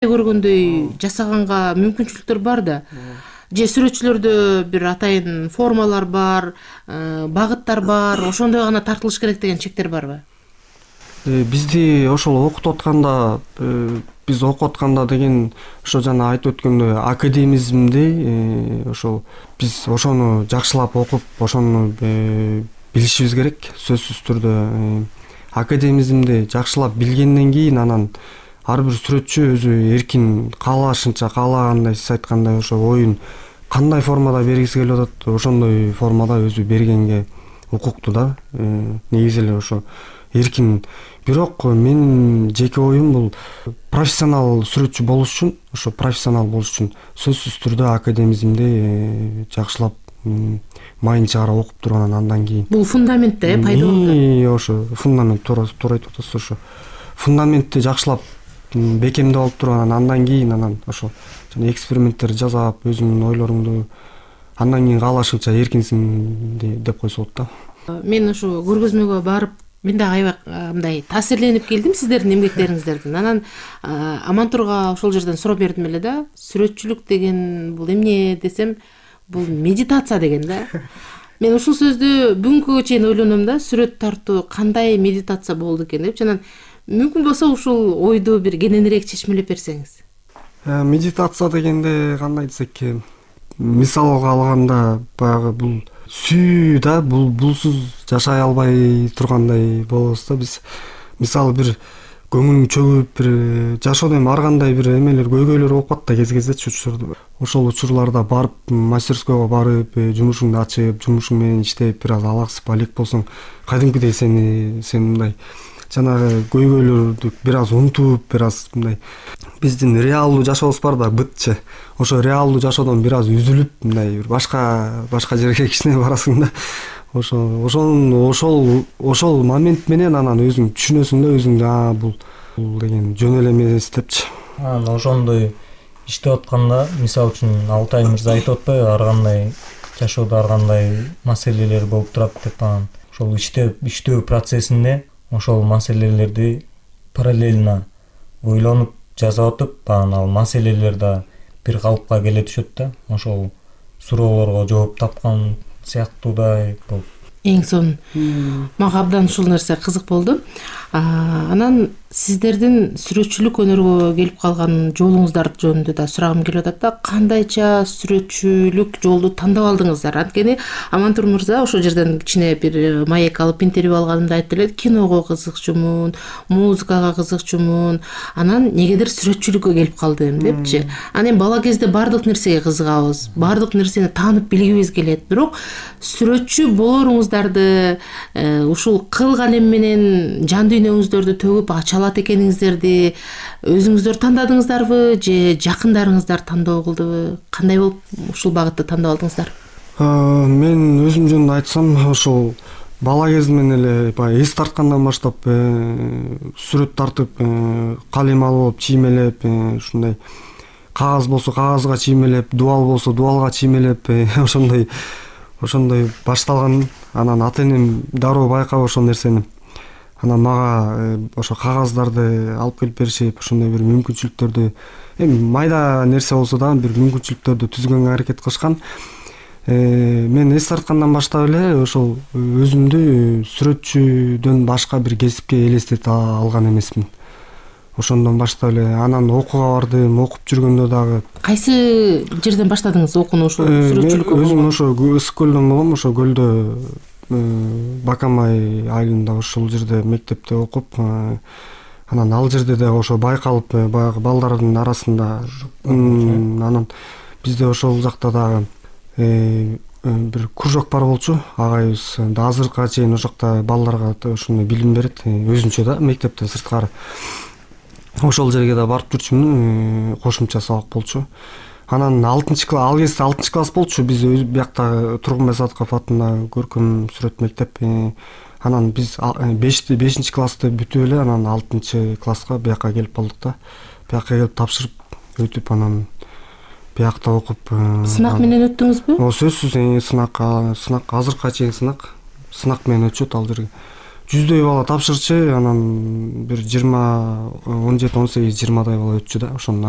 көргөндөй жасаганга мүмкүнчүлүктөр бар да. Же сүрөтчүлөрдө бир атайын формалар бар, багыттар бар, ошондой гана тартылыш керек деген чектер барбы? Бизди ошол окутуп атканда, биз окуп атканда деген ошо жана айтып өткөндөй академизмди ошол биз ошону жакшылап окуп, ошону билишибиз керек. Сөзсүз түрдө академизмди жакшылап билгенден кийин анан ар бир сүрөтчү өзү эркин каалашынча, каалагандай сиз айткандай ошо оюн кандай формада бергиси келип атат, ошондой формада өзү бергенге укуктуу да. Негизи эле ошо эркин. Бирок менин жеке оюм бул профессионал сүрөтчү болуш үчүн, ошо профессионал болуш үчүн сөзсүз түрдө академизмди жакшылап майын чыгара окуп туруп андан кийин. Бул фундамент да, пайда болду. Ошо фундамент, туура айтып атасыз. Ошо фундаментти жакшылап бекемдеп алып туруп андан кийин ошо жана эксперименттер жасап, өзүңдүн ойлоруңду андан кийин каалашыңча эркинсиң деп койсо болот да. Мен ошо көргөзмөгө барып, мен дагы аябай мындай таасирленип келдим сиздердин эмгектериңиздерден. Анан Амантурга ошол жерден сурап бердим эле да. Сүрөтчүлүк деген бул эмне десем, бул медитация деген да. Мен ушул сөздү бүгүнкүгө чейин ойлоном да, сүрөт тартуу кандай медитация болду экен деп. Жана мүмкүн болсо ушул ойду бир кененирээк чечмелеп берсеңиз. Медитация дегенде кандай десек, мисалга алганда баягы бул сүйүү да, булсуз жашай албай тургандай болобуз да биз. Мисалы бир көңүлүң чөгүп, бир жашоодо эми ар кандай бир эмелер, көйгөйлөр болуп калат да кез-кездечи учурда. Ошол учурларда барып, мастерскойго барып, жумушуңду ачып, жумушуң менен иштеп, бир аз алаксып, алек болсоң, кадимкидей сен мындай жанагы көйгөйлөрдү бир аз унутуп, бир аз мындай биздин реалдуу жашообуз бар да, бытчы. Ошо реалдуу жашоодон бир аз үзүлүп, мындай бир башка жерге кичине барасың да. Ошол момент менен анан өзүң түшүнөсүң да, өзүңдү бул деген жөн эле эмес депчи. Анан ошондой иштеп атканда, мисалы үчүн Алтай мырза айтып атпайбы, ар кандай жашоодо ар кандай маселелер болуп турат деп. Анан ошол иштөө процессинде ошол маселелерди параллельно ойлонуп жазап атып, анан ал маселелер да бир калыпка келе түшөт да. Ошол суроолорго жооп тапкан сыяктуудай болуп. Эң сонун. Мага абдан ушул нерсе кызык болду. Анан сиздердин сүрөтчүлүк өнөргө келип калган жолуңуздар жөнүндө да сурагым келип атат да. Кандайча сүрөтчүлүк жолду тандап алдыңыздар? Анткени Амантур мырза ошол жерден кичине бир маек алып интервью алганымда айтты эле, киного кызыкчумун, музыкага кызыкчумун, анан негедир сүрөтчүлүккө келип калдым депчи. Анан бала кезде бардык нерсеге кызыгабыз, бардык нерсени таанып билгибиз келет. Бирок сүрөтчү болоруңуздарды ушул кыл калем менен жан дүйнөңүздөрдү төгүп ача алат экениңиздерди өзүңүздөр тандадыңыздарбы же жакындарыңыздар тандоо кылдыбы? Кандай болуп ушул багытты тандап алдыңыздар? Мен өзүм жөнүндө айтсам, ошол бала кезимден эле баягы эс тарткандан баштап сүрөт тартып, калем алып, чиймелеп, ушундай кагаз болсо кагазга чиймелеп, дубал болсо дубалга чиймелеп, ошондой башталган. Анан ата-энем дароо байкап ошол нерсени. Анан мага ошо кагаздарды алып келип беришип, ошондой бир мүмкүнчүлүктөрдү, эми майда нерсе болсо дагы бир мүмкүнчүлүктөрдү түзгөнгө аракет кылышкан. Мен эс тарткандан баштап эле ошол өзүмдү сүрөтчүдөн башка бир кесипке элестете алган эмесмин. Ошондон баштап эле анан окууга бардым, окуп жүргөндө дагы. Кайсы жерден баштадыңыз окууну ошол сүрөтчүлүккө? Өзүм ошо Ысык көлдөн болгом, ошо көлдө Бакамай айылында ошол жерде мектепте окуп, анан ал жерде да ошо байкалып, баягы балдардын арасында, анан бизде ошол жакта дагы бир кружок бар болчу, агайыбыз да азыркыга чейин ошол жакта балдарга ошондой билим берет, өзүнчө да мектептен сырткары. Ошол жерге да барып жүрчүмүн, кошумча сабак болчу. Анан ал кезде 6 класс болчу, биз биякта Тургунбай Садыков атындагы көркөм сүрөт мектеп. Анан биз 5 классты бүтүп эле, анан 6 класска биякка келип калдык да. Биякка келип тапшырып өтүп, анан биякта окуп. Сынак менен өттүңүзбү? Сөзсүз сынак азыркыга чейин сынак менен өтүшөт ал жерге. 100дөй бала тапшырчу, анан бир 20, 17, 18, 20дай бала өтчү да ошонун арасынан.